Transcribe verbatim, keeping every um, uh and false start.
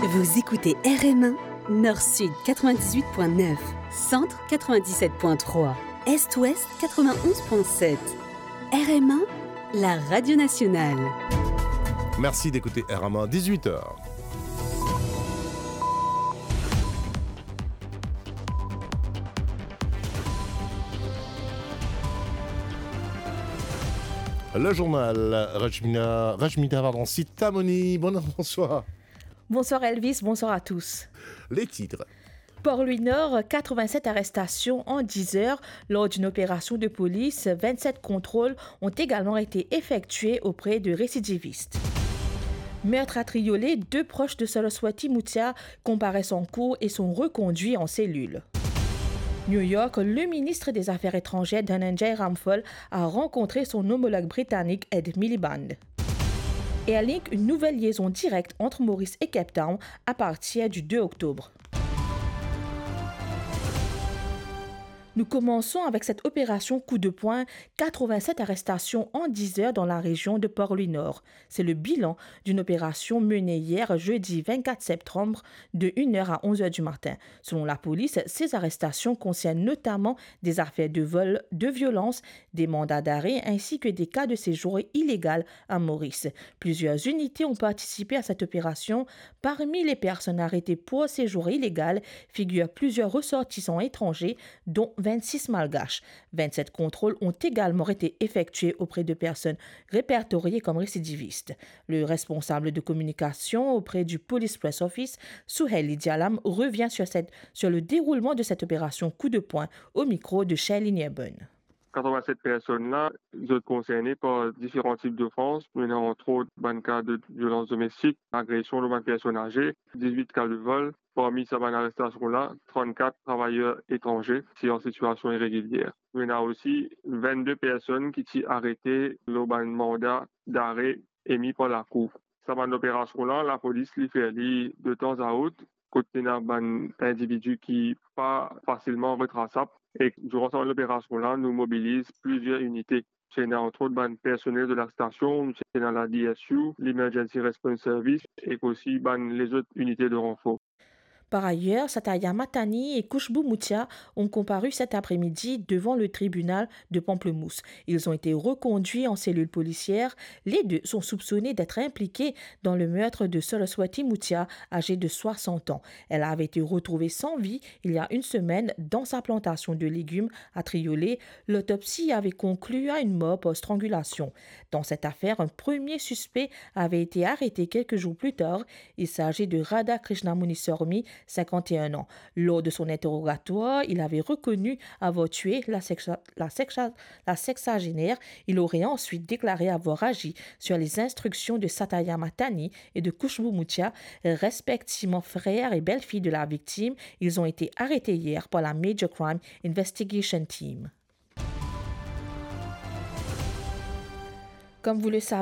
Vous écoutez R M un, Nord-Sud quatre-vingt-dix-huit point neuf, Centre quatre-vingt-dix-sept point trois, Est-Ouest quatre-vingt-onze point sept. R M un, la radio nationale. Merci d'écouter R M un, dix-huit heures. Le journal, Rajmina, Rajmita, pardon, Sitamoni. Bon, bonsoir. Bonsoir Elvis, bonsoir à tous. Les titres. Port-Louis-Nord, quatre-vingt-sept arrestations en dix heures. Lors d'une opération de police, vingt-sept contrôles ont également été effectués auprès de récidivistes. Meurtre à Triolet, deux proches de Saraswati Muthiah comparaissent en cour et sont reconduits en cellule. New York, le ministre des Affaires étrangères Dhananjay Ramphal a rencontré son homologue britannique Ed Miliband. Airlink, une nouvelle liaison directe entre Maurice et Cape Town à partir du deux octobre. Nous commençons avec cette opération coup de poing, quatre-vingt-sept arrestations en dix heures dans la région de Port-Louis-Nord. C'est le bilan d'une opération menée hier, jeudi vingt-quatre septembre, de une heure à onze heures du matin. Selon la police, ces arrestations concernent notamment des affaires de vol, de violence, des mandats d'arrêt ainsi que des cas de séjour illégal à Maurice. Plusieurs unités ont participé à cette opération. Parmi les personnes arrêtées pour séjour illégal figurent plusieurs ressortissants étrangers, dont vingt-six malgaches. Vingt-sept contrôles ont également été effectués auprès de personnes répertoriées comme récidivistes. Le responsable de communication auprès du Police Press Office, Souheili Dialam, revient sur cette, sur le déroulement de cette opération coup de poing au micro de Shelly Nierben. Katrovin-set personn la, zot konserne par diferan tip dofans. Nou ena antrot bann ka de violans domestik, agresion lor bann personn aze, diz-wit ka de vol. Parmi sa bann arestasion la, trannkat travayer etranze ti an sitiasion iregilyer. Nou ena osi vennde personn ki ti arete lor bann manda dare emi par lakour. Sa bann operasion la, lapolis li fer li de tanzantan, kot ena bann individi ki pa fasilman retrasab. E diran sa bann operasion la, nou mobiliz plizier inite. Ti ena antrot bann personel de lastasion, ti ena la D S U, l'Emergency Response Service, ek osi bann lezot inite de ranfor. Par ailleurs, Satya Mathani et Khushbu Muthiah ont comparu cet après-midi devant le tribunal de Pamplemousse. Ils ont été reconduits en cellule policière. Les deux sont soupçonnés d'être impliqués dans le meurtre de Saraswati Muthiah, âgée de soixante ans. Elle avait été retrouvée sans vie il y a une semaine dans sa plantation de légumes à Triolet. L'autopsie avait conclu à une mort par strangulation. Dans cette affaire, un premier suspect avait été arrêté quelques jours plus tard. Il s'agit de Radha Krishnamuni Sormi, cinquante et un ans. Lors de son interrogatoire, il avait reconnu avoir tué la sexa-, la sexa-, la sexagénaire. Il aurait ensuite déclaré avoir agi sur les instructions de Satya Mathani et de Khushbu Muthiah, respectivement frère et belle-fille de la victime. Ils ont été arrêtés hier par la Major Crime Investigation Team. Comme vous le savez,